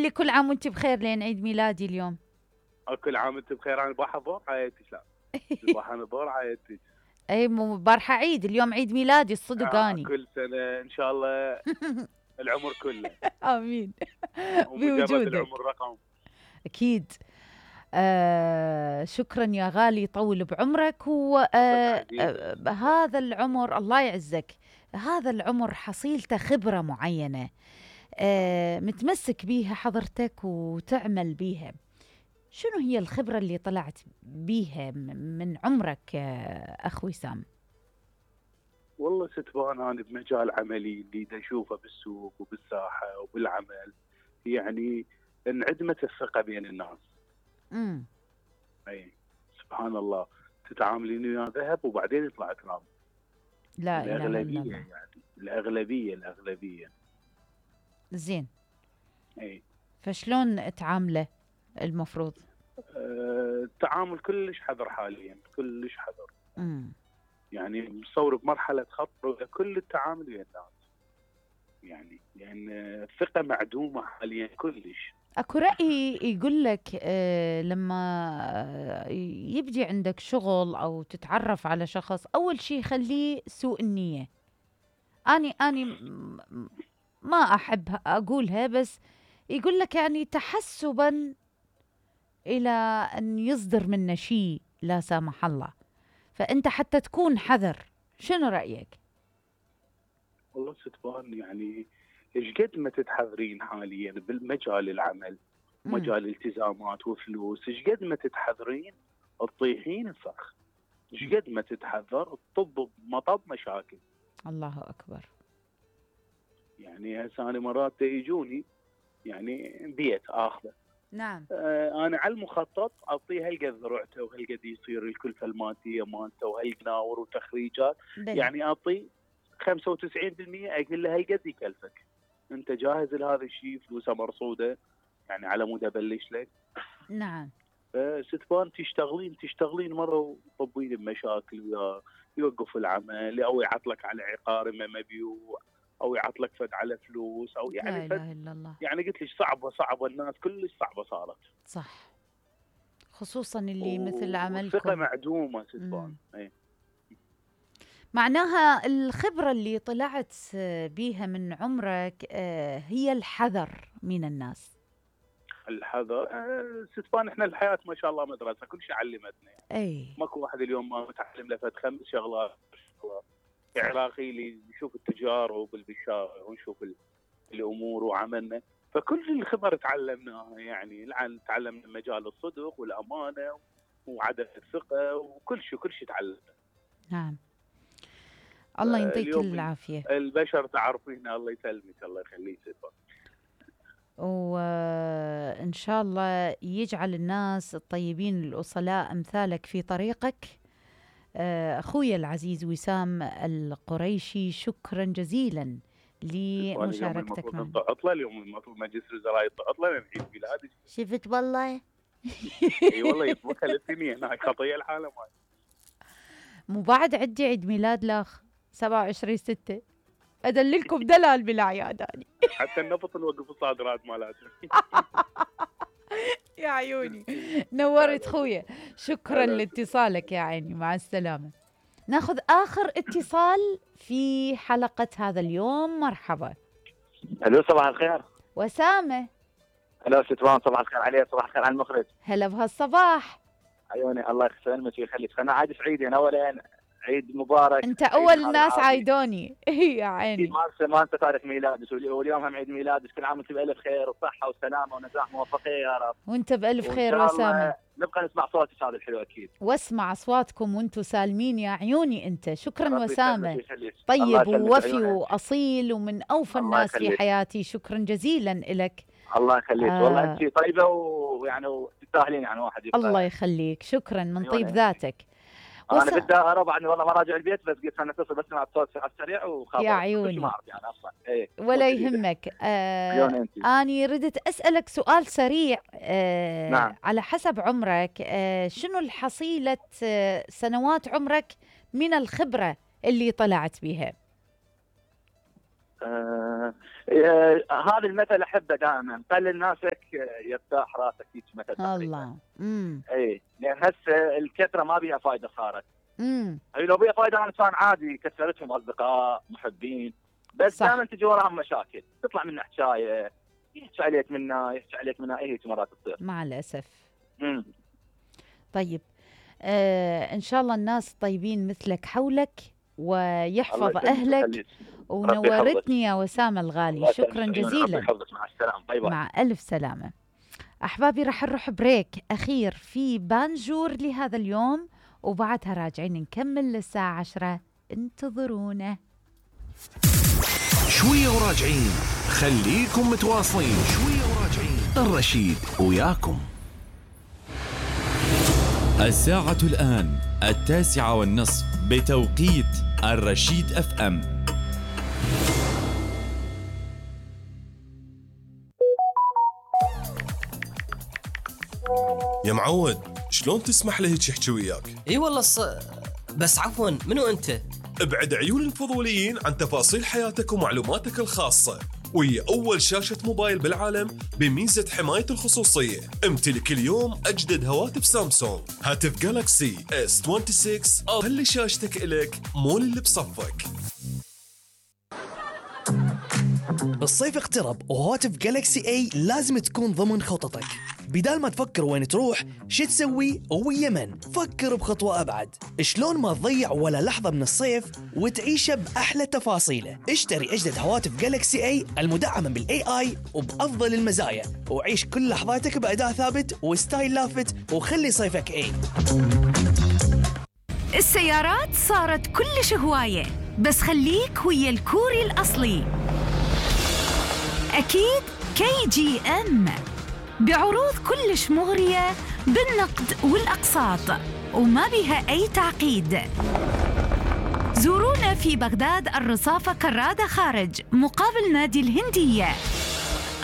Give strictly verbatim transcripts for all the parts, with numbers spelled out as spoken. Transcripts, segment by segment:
لي كل عام وانت بخير لين عيد ميلادي اليوم. كل عام وانت بخير. انا بارحه ظهر عايتك. لا البارحه انا ظهر عايتك. اي مو بارحه عيد، اليوم عيد ميلادي الصدق آه اني. كل سنه ان شاء الله العمر كله. امين. ومجرد بوجودك العمر رقم. اكيد. آه شكرا يا غالي، طول بعمرك. وهذا آه آه العمر الله يعزك، هذا العمر حصيلته خبرة معينة آه متمسك بيها حضرتك وتعمل بيها. شنو هي الخبرة اللي طلعت بيها من عمرك آه أخ وسام؟ والله ستبان أنا بمجال عملي اللي دا أشوفه بالسوق وبالساحة وبالعمل، يعني انعدمت الثقة بين الناس. امم اي سبحان الله، تتعاملين ويا ذهب وبعدين يطلع تراب. لا اله الا الأغلبية الله. يعني الأغلبية الأغلبية زين. اي فشلون تعامله المفروض؟ أه التعامل كلش حذر حاليا، كلش حذر. امم يعني مصور بمرحلة خطر كل التعامل ويا الناس، يعني لأن الثقة معدومة حاليا كلش. اكو رأي يقول لك آه لما آه يبدي عندك شغل او تتعرف على شخص، اول شيء خليه سوء النية. اني اني م- ما احب اقولها، بس يقول لك يعني تحسبا الى ان يصدر منه شيء لا سامح الله، فانت حتى تكون حذر. شنو رأيك؟ والله ستبان يعني ايش قد ما تتحذرين حاليا بالمجال العمل، مم. مجال التزامات وفلوس، ايش قد ما تتحذرين تطيحين الفخ، ايش قد ما تتحذر تطب بمطب مشاكل. الله اكبر. يعني هسه انا مرات يجوني يعني بيت اخذه، نعم. آه انا على المخطط اعطيه هالقد ذرعته وهالقد يصير الكلفه الماديه مالته وهالقناور وتخريجات، بل. يعني اعطي خمسة وتسعين بالمئة اقول له هالقد يكلفك، انت جاهز لهذا الشيء، فلوسه مرصوده يعني على مود ابلش لك. نعم. ستبان تشتغلين تشتغلين مره وطبين بمشاكل ويا يوقف العمل او يعطلك على عقار ما مبيوع او يعطلك فد على فلوس او يعني لا اله الا الله. يعني قلت لك صعبه صعبه، الناس كلش صعبه صارت. صح، خصوصا اللي مثل الثقه عملكم. معدومه ستبان. اي معناها الخبرة اللي طلعت بيها من عمرك هي الحذر من الناس. الحذر. أه ستبان احنا الحياه ما شاء الله مدرسه، كل شيء علمتنا يعني. اي ماكو واحد اليوم ما متعلم له فد خمس شغلات. عراقي اللي يشوف التجارب بالشارع ونشوف الامور وعملنا، فكل الخبر تعلمناها يعني. الان تعلمنا مجال الصدق والامانه وعدم الثقه وكل شيء كل شيء تعلمنا. نعم. الله يعطيك العافيه. البشر تعرفين، الله يسلمك الله يخليك. وإن شاء الله يجعل الناس الطيبين الأصلاء أمثالك في طريقك. أخوي العزيز وسام القريشي، شكرا جزيلا لمشاركتك معنا. اليوم عطلة، اليوم المفروض مجلس الوزراء عطلة من عيد ميلادي. شفت والله. اي والله يطبخ الاثنين هناك خطية الحالة ماي. مو بعد عندي عيد ميلاد لاخ سبعة وعشرين ستة، أدللكم دلال بالأعياد هذه. حتى النفط نوقف الصادرات مالته. يا عيوني نورت خويا، شكرا لاتصالك يا عيني، مع السلامة. ناخذ آخر اتصال في حلقة هذا اليوم. مرحبا. الو صباح الخير. وسامة. هلا ستوان، صباح الخير عليك، صباح الخير على المخرج. هلا بهالصباح. عيوني الله يسلمك ويخليك. انا عاد سعيد يعني، اولا عيد مبارك. انت اول الناس عايدوني. يا عيني ما انسى ما انسى تاريخ ميلادك، واليوم هم عيد ميلادك، كل عام وانت بالف خير وصحه وسلامه ونجاح موفقيه يا رب. وانت بالف خير وسامه. نبقى نسمع صوتك هذا الحلو اكيد. واسمع اصواتكم وانتم سالمين يا عيوني. انت شكرا وسامه، طيب ووفي واصيل ومن اوفى الناس في حياتي. شكرا جزيلا لك. الله يخليك. آه. والله انت طيبه ويعني وتستاهلين يعني واحد يبقى. الله يخليك، شكرا من طيب ذاتك. انا وس... بدي ارى عني والله ما راجع البيت، بس قلت انا اتصل بس مع الصوت على السريع وخاطر يا عيوني ما اعرف يعني اصلا. ايه ولا يهمك. آه اني ردت اسالك سؤال سريع. آه نعم. على حسب عمرك، آه شنو الحصيله آه سنوات عمرك من الخبره اللي طلعت بها؟ آه آه هذا المثل احبه دائما، قلل ناسك يرتاح راسك، هيك مثل تقريبا. الله. امم اي لان هسه الكثره ما بيها فائده صارت. امم اي لو بيها فائده انسان عادي كثرتهم اصدقاء محبين، بس دائما تجي وراهم مشاكل، تطلع منه حكايه، يحكي عليك منها يحكي عليك منها، اي هيك مرات تصير مع الاسف. امم طيب آه ان شاء الله الناس طيبين مثلك حولك ويحفظ اهلك، ونورتني يا وسامة الغالي. شكرا جزيلا. مع السلامه. باي باي. مع الف سلامه. احبابي راح نروح بريك اخير في بانجور لهذا اليوم، وبعدها راجعين نكمل للساعه عشرة. انتظرونا شويه وراجعين، خليكم متواصلين. شويه وراجعين، الرشيد وياكم. الساعة الآن التاسعة والنصف بتوقيت الرشيد اف ام. يا معود، شلون تسمح له هيك يحكي وياك؟ اي والله ص... بس عفوا، منو انت؟ ابعد عيون الفضوليين عن تفاصيل حياتك ومعلوماتك الخاصة، وهي أول شاشة موبايل بالعالم بميزة حماية الخصوصية. امتلك اليوم أجدد هواتف سامسونج، هاتف جالاكسي اس ستة وعشرين، أو خلي شاشتك إلك مول اللي بصفك. الصيف اقترب وهواتف جالكسي اي لازم تكون ضمن خططك. بدال ما تفكر وين تروح شو تسوي ويا من، فكر بخطوة أبعد. شلون ما تضيع ولا لحظة من الصيف وتعيشه بأحلى تفاصيله. اشتري أجدد هواتف جالكسي اي المدعمة بالاي اي وبأفضل المزايا، وعيش كل لحظاتك بأداء ثابت وستايل لافت، وخلي صيفك اي. السيارات صارت كلش هواية، بس خليك ويا الكوري الأصلي. أكيد كي جي ام بعروض كلش مغرية بالنقد والأقساط، وما بها أي تعقيد. زورونا في بغداد الرصافة كرادة خارج مقابل نادي الهندية،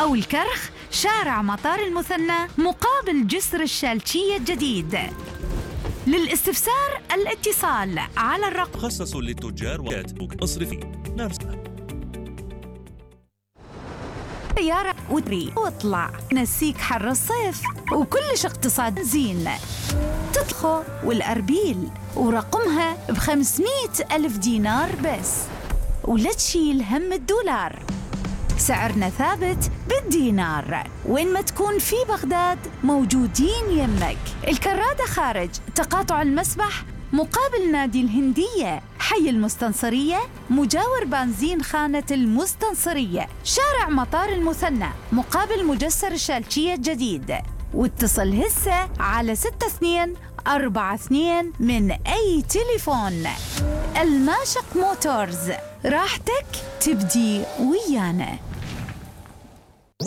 أو الكرخ شارع مطار المثنى مقابل جسر الشالشية الجديد. للاستفسار الاتصال على الرقم مخصص للتجار وكاتبوك اصرفي نفس سيارة ودري واطلع نسيك حر الصيف وكلش اقتصاد زين. تدخل والأربيل ورقمها بخمسمية ألف دينار بس، ولا تشيل هم الدولار. سعرنا ثابت بالدينار، وين ما تكون في بغداد موجودين يمك. الكرادة خارج تقاطع المسبح مقابل نادي الهندية، حي المستنصرية مجاور بنزين خانة المستنصرية، شارع مطار المثنى مقابل مجسر الشالشية الجديد. واتصل هسه على ستة اثنين أربعة اثنين من أي تليفون. الماشق موتورز، راحتك تبدي ويانا.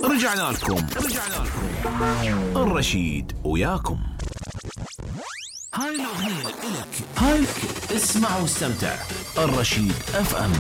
رجعنا لكم رجعنا لكم الرشيد وياكم. هاي الأغنية إلك، هاي اسمع واستمتع. الرشيد اف ام.